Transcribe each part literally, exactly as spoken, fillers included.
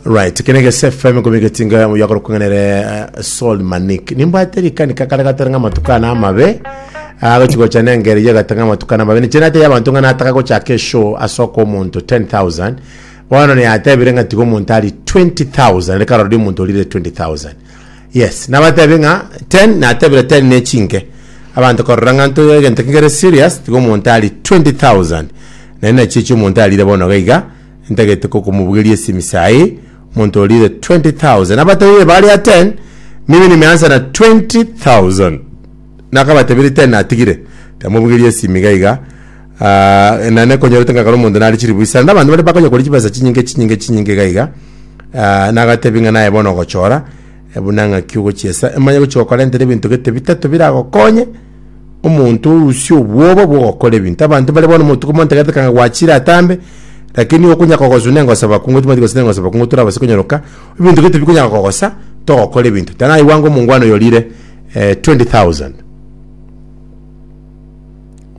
Right, kene gese F M komigetinga yakora kung'anere uh, Sol Manik. Nimbwate rikanika kare gatari ng'a matukana amabe. Agochi gocha nengeri yagatanga matukana amabe. Niche nate y'abantu ng'a nataka gochaka eshow asoko omonto ten thousand. Bono niyatebire ng'a tiga omonto ari twenty thousand. Reka rori omonto orire twenty thousand. Yes, nabatebi ng'a ten natebire ten ne chinke. Abanto korora ng'a nto egento kegere serious, tiga omonto ari twenty thousand. Naende nachichi omonto arire bono gaiga ntagete kokomubugeria esimi sahi, omonto orire twenty thousand. Abatebi baria ten, mimi nimeanza na twenty thousand, nakabatebire ten natigire tamubugeria esimi gaiga. uh, nane konyorete ngakora omonto nari chiribu isano nabanto bari bakonya kori chibesa chinyinge chinyinge chinyinge gaiga. uh, nagatebi ng'a naye bono ogochora buna ng'aki ogochiesa emanye gochi gokorentera ebinto gete bitato biragokonye omonto orusie obwoba bwogokora ebinto. Abanto bare bono motuko montegete kanga gwachire atambe, lakini okonya kogosu nengosa bakungu timati gose nengosa bakungu turabase konyoroka ebinto gete bikonya kogosa togokora ebinto tanaiwanga omongwano yorire eh, twenty thousand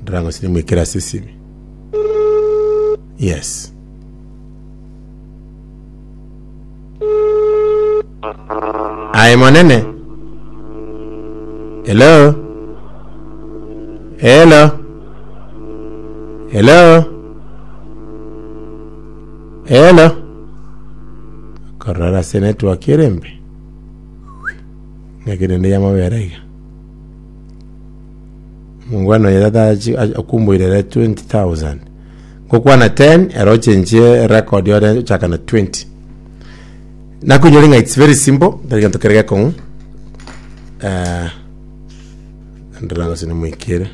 ndirango sini mwikira ase esimi. Yes, aye monene. Hello, hello, hello, hello. Korora ase network erembe ng'akirende yamabere iga mungwana oyo tata akumbuirere twenty thousand ngokwana ten ero ochenchie record yore ochaka na twenty. Nakunyori ng'a it's very simple, tari gento kere gekong'u. eh ndira ng'ase nimwikire.